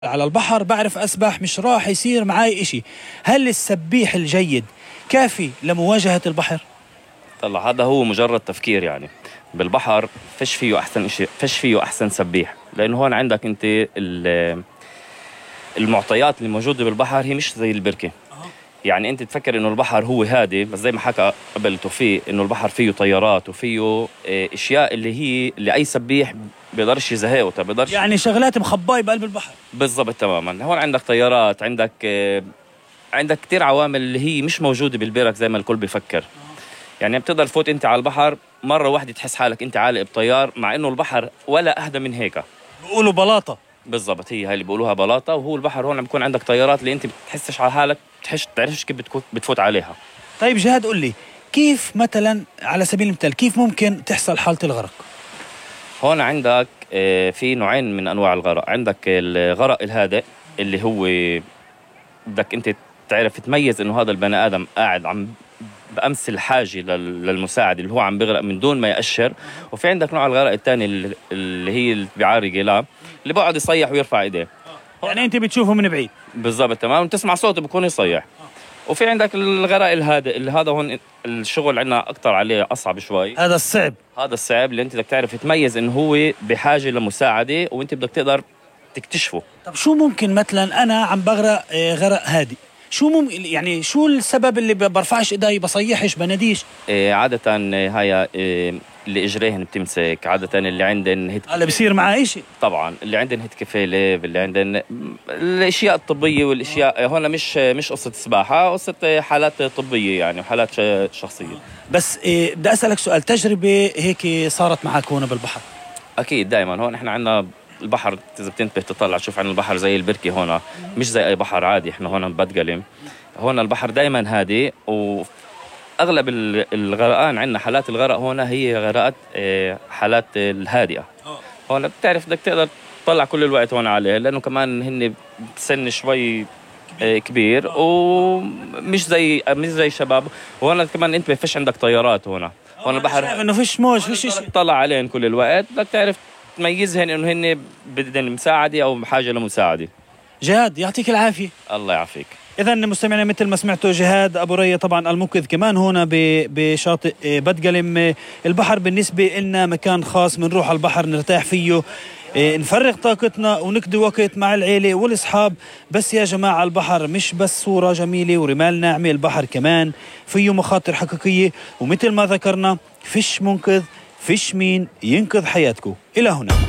على البحر بعرف أسبح، مش راح يصير معاي إشي. هل السبيح الجيد كافي لمواجهة البحر؟ طلع هذا هو مجرد تفكير يعني. بالبحر فيش فيه أحسن إشي، فيش فيه أحسن سبيح، لأنه هون عندك أنت المعطيات اللي موجودة بالبحر هي مش زي البركة. يعني أنت تفكر إنه البحر هو هادي، بس زي ما حكى قبل توفيق إنه البحر فيه طيارات وفيه أشياء اللي أي سبيح بيقدرش يزهقه، بيقدرش يعني شغلات مخباية بقلب البحر. بالضبط تماما. هون عندك طيارات، عندك كتير عوامل اللي هي مش موجودة بالبرك زي ما الكل بيفكر. يعني بتقدر تفوت أنت على البحر مرة واحدة تحس حالك أنت عالق بطيار، مع إنه البحر ولا أهدى من هيك. بيقولوا بلاطة. بالضبط، هي اللي بيقولوها بلاطة. وهو البحر هون عم بيكون عندك طيارات اللي أنت بتحسش على حالك، تعرفش كيف بتفوت عليها. طيب جهاد، قل لي كيف مثلا على سبيل المثال كيف ممكن تحصل حالة الغرق؟ هون عندك في نوعين من أنواع الغرق. عندك الغرق الهادئ اللي هو بدك أنت تعرف تميز إنه هذا البني آدم قاعد عم بأمس الحاجة للمساعد اللي هو عم بغرق من دون ما يأشر. وفي عندك نوع الغرق الثاني اللي هي اللي بيعاري لا، اللي بقعد يصيح ويرفع ايديه. يعني انت بتشوفه من بعيد. بالضبط تمام، وتسمع صوته بكون يصيح. وفي عندك الغرق الهادئ اللي هذا هون الشغل عندنا أكتر عليه، أصعب شوي. هذا الصعب اللي انت بدك تعرف تميز انه هو بحاجة لمساعدة وانت بدك تقدر تكتشفه. طب شو ممكن مثلا انا عم بغرق غرق هادئ، شو ممكن يعني شو السبب اللي برفعش ايدي، بصيحش، بناديش؟ عادة هاي اللي اجريهن بتمسك، عادة اللي عندن هلا بصير معاه اشي. طبعا اللي عندن هتكفيلة، اللي عندن الاشياء الطبية والاشياء هون مش قصة سباحة، قصة حالات طبية يعني وحالات شخصية. بس بدي اسألك سؤال، تجربة هيك صارت معك هون بالبحر؟ اكيد دائما. هون احنا عندنا البحر، إذا بتنتبه تطلع تشوف عن البحر زي البركة هون، مش زي أي بحر عادي. إحنا هون ببدقلم، هون البحر دايما هادي، وأغلب الغرقان عندنا حالات الغرق هون هي غرقات حالات الهادئة. هون بتعرف بدك تقدر تطلع كل الوقت هون عليه، لأنه كمان هن بسن شوي كبير ومش زي شباب. وهون كمان أنت بفش عندك طيارات هون البحر، شايف إنه فيش موج، فيش شيء تطلع عليهن كل الوقت، بدك تعرف تميزهن انه هن بدهن مساعده او بحاجه لمساعده. جهاد يعطيك العافيه. الله يعافيك. اذا مستمعينا مثل ما سمعتوا جهاد ابو ريا طبعا المنقذ كمان هنا بشاطئ بدقلم. البحر بالنسبه لنا مكان خاص، بنروح على البحر نرتاح فيه، نفرغ طاقتنا ونقضي وقت مع العيله والاصحاب. بس يا جماعه البحر مش بس صوره جميله ورمال ناعمه، البحر كمان فيه مخاطر حقيقيه، ومثل ما ذكرنا فيش منقذ، فيش مين ينقذ حياتكم. إلى هنا.